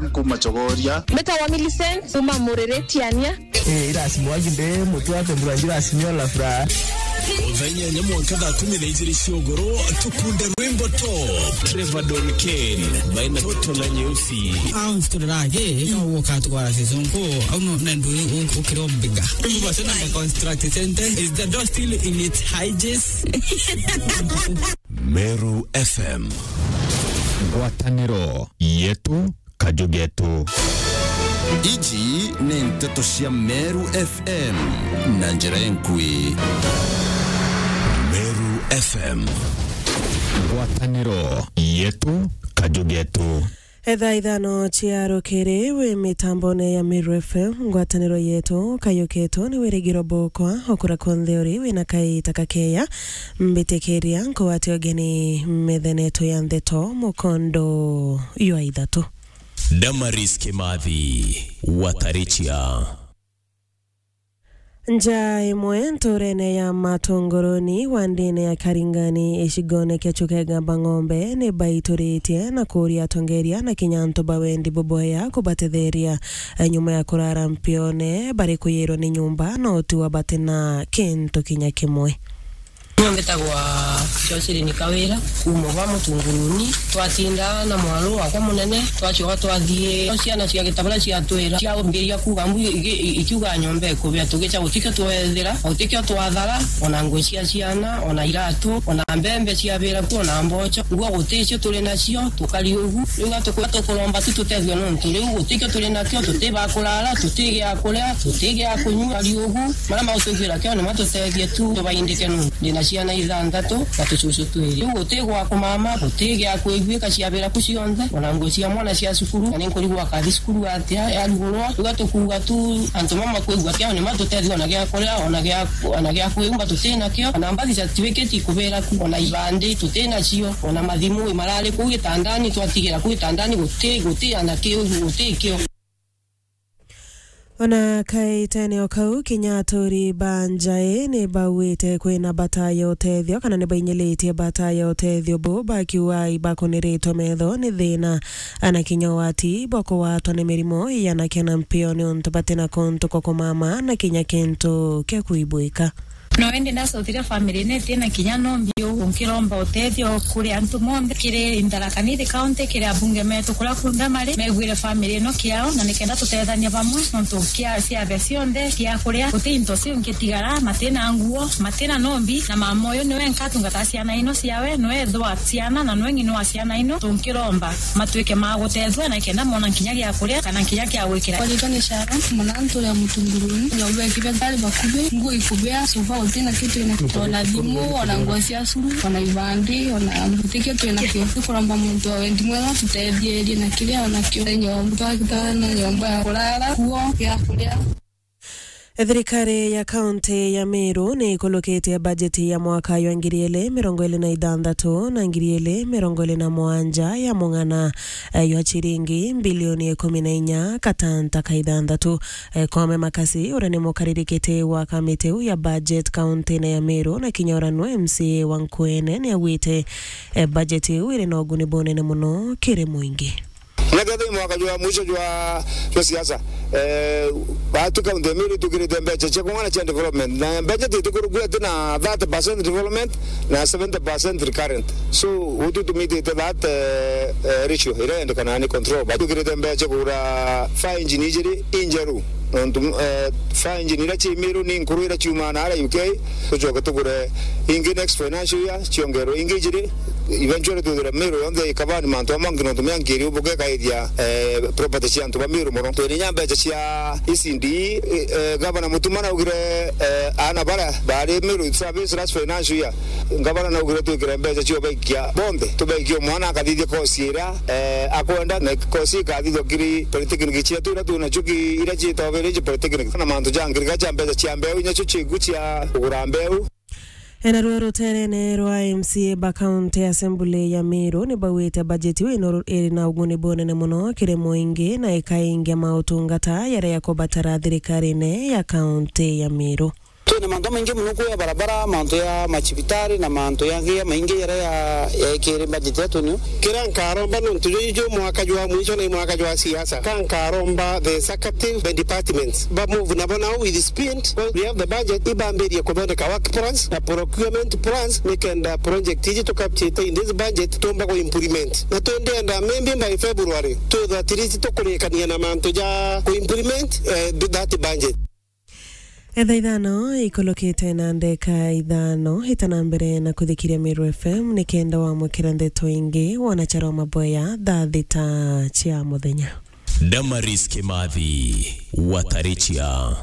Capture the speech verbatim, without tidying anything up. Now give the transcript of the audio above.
Kuma Chogoria. Mbetawa Millicent, kuma Murere Tiania. Eh, irasi mwagi nde, mutu wake mbura njira simio la furaha. Thaa inyanya mwanka thaa kumi na ijiri cia ugoro, tukunde rwimbo top. Trevor Don Kane, baina toto na nyeusi. Au sitorage, ka uka twara season ko, au no, na ndu u-, u-, ukiro mbiga. Mbu basi na construct center, is the door still in its hinges? Meru F M. Ngwataniro yetu, kaju getu. Iji ni nteto cia Meru F M na njira enkui. Meru F M. Ngwataniro yetu, kaju getu. Etha ithano cia rukiri wi mitambone ya Meru F M, ngwataniro yetu, kaju getu ni wirigiro bukwa, okura konthe uri wina kaita kakeya, mbitikiria nkwate ugeni methenetu ya ndeto mukondo jwa ithatu. Damaris Kimathi, Watarichia. Nja imwe nturene ya Matunguruni, wandine ya Karingani, icigone kia Chukegamba Ng'ombe, ni baituritie na kuria atongeria na kinya antu ba wendi bubwea kubatetheria. Nyuma ya kurara mpione, bari kuyirwa ni nyumba na utiwa batina kintu kinya kimwe. Niwe mbitagwa Jocelyn Kawira, kuuma gwa Mutunguruni. Twatinda na mwaru wakwa munene, twacoka twathii, ciana cia Gitabura ciatwira, ciambiria kuuga mbu iki-, iki-, ikiuga nyomba ikubia, tugica gutikio twethira, gutikio twathara, ona nguo cia ciana, ona iratu, ona mbembe ciabira ku, ona mboco. Nguo guticio turi nacio, tukari ugu. Riu gatuku-, tukuromba tu tutethio nontu riu gutikio turi nakio, tuti ba kurara, tuti gia kuria, tuti gia kunyua, tukari ugu. Maria magutuiguira kio ni matutethie tu, tubaindike nontu ndina ciana ithanthatu na tucucu twiri. Riu guti gwa kumama, guti gia kwiguika ciabira ku cionthe, ona nguo cia mwana cia cukuru, na ni nkurigwa akathi cukuru atia, yarugurwa. Riu gatukuuga tu antu mama kwigua kio ni matutethie ona gia kuria, ona gia, ona gia kwimba tuti nakio, ona mbathi cia tibikiti kubira ku, ona ibandi tuti nacio, ona mathimu marari kuu gitandani, twatigira kuu gitandani guti, guti ana kiu, guti kio. Ona kaitene o kau, kinya aturi ba njae ni bauite kwina bata ya utethio, kana ni bainyilitie bata ya utethio bu, bakiuga ibakuniritwe metho ni thina, ana kinya ugwati bwa kugwatwa ni mirimo ya na kiana mpio niuntu batina kuntu kwa kumama na kinya kintu kia kuibwika. No indi ndacokire family ino itina kinya nombi uu, nkiromba utethio kuri antu monthe, kiri Tharaka Nithi County, kiri abunge metu kuria kunthe mari, megwire family ino kiao, na nikenda tutethania bamwe nontu kia ciathe cionthe cia kuria, guti into ciu ngitigara, matina nguo, matina nombi, na mama uyu niwe nkatungataa ciana ino ciawe, niwe ithe wa ciana na niwe ng'ina wa ciana ino, tunkiromba matwike ma gutethua na kenda mona kinya gia kuria kana kinya kia gwikira. Kwa ritwa ni Sharon, mwana nturia Mutunguruni, nyomba ikibia tari bakubi, nguo ikubia, sofa utina kitu ina, ona thimu, ona nguo cia cukuru, ona ibandi, ona guti kitu ina kio. Tukuromba muntu wa wendi mwega tutethierie na kiria ona kio. Nyomba, twakitana nyomba ya kurara, nguo, gia kuria. Thirikari ya kaunti ya Meru ni ikulukitie bajeti ya mwaka jwa ngiri ili mirongo ili na ithanthatu na ngiri ili mirongo ili na mugwanja ya mung'ana, eh, jwa ciringi mbilioni ikumi na inya katanta ka ithanthatu. Eh, Koome Makasi, uria ni mukaririkiti wa kamiti iu ya budget kaunti-ini ya Meru, na kinya uria nwe M C A wa Nkuene, ni augite, eh, bajeti iu iri na uguni bunene muno kiri muingi. Na kethira i mwaka jwa mwisho jwa, jwa siasa, eh, batu kaunti ya Meru itukirite mbeca cia kung'ana cia development. Na mbeca titikurukua ati na thirty percent development na seventy percent recurrent. So, utu tumitite that, eh, eh, ratio iria yendekanaga ni control. Batukirite mbeca kugura fire engine ijiri injeru. Nontu, eh, fire engine iria ci Meru ni nkuru iria ciumaga na aria U K, tucoke tugure ingi next financial year, ciongerwe ingi ijiri. Eventually twithire Meru yonthe ikabani mantu amwe angi nontu miankiri ubuke kaithia, eh, property cia antu ba Meru mono. Twina inya mbeca cia E C D, eh, eh, Gavana Mutuma naugire, eh, aana baria bari Meru service last financial year, Gavana naugire twikire mbeca cio baikia bonthe, tubaikie mwana akathithia course iria, eh, akwenda, na course ikathithua kiri polytechnic cietu iria twinacio ki-, iria ciitagwa village polytechnic, na mantu ja ngirika ja mbeca cia mbeu, inya cio ciku cia kugura mbeu. Ena ruo ruterene rwa M C A ba County Assembly ya Meru ni bauite bajeti iu ino iri na uguni bunene muno kiri muingi na ikaingia mautungata jaria jakubatara thirikarine ya County ya Meru. Mantu maingi mono kuu ya barabara, mantu ya macibitari na mantu yangi ya maingi jaria ya, yaikiri budget yetu niu. Kiria nkaromba nontu juju ju mwaka jwa mwisho na i mwaka jwa siasa. Ka nkaromba the executive, the departments, ba move nabo now with speed. We have the budget, ibambirie kuthondeka work plans na procurement plans, nikenda project iji tukapchite in this budget tumba ku implement. Na twendenda maybe by February, twithwa at least tukurikania na mantu ja ku implement, eh, that budget. Etha ithano ikulukite na ndeka ithano, ita na mbere na kuthikiria Meru F M nikenda wamwikira ndeto ingi wona charo maboya thaa thita cia muthenya. Damaris Kimathi, Watarichia.